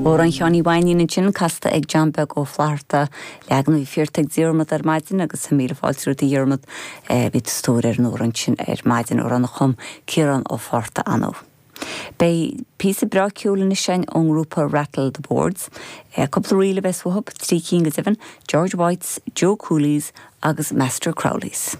Amhrán Sheáin Uí Mhainín ansin, casta ag John Beag Ó Flatharta, leagan a bhí fiarta ag Diarmaid ar maidin agus míle fáilte romhat a Dhiarmaid, bhí tú sa tóir ar an amhrán sin ar maidin, amhrán a chum Ciarán Ó Fátharta anó. Beidh píosa breá ceoil anois againn ón ngrúpa Rattle the Boards. Cúpla ríl a bheas uathu, trí cinn go deimhin, George White's, Joe Cooley's agus Master Crowley's.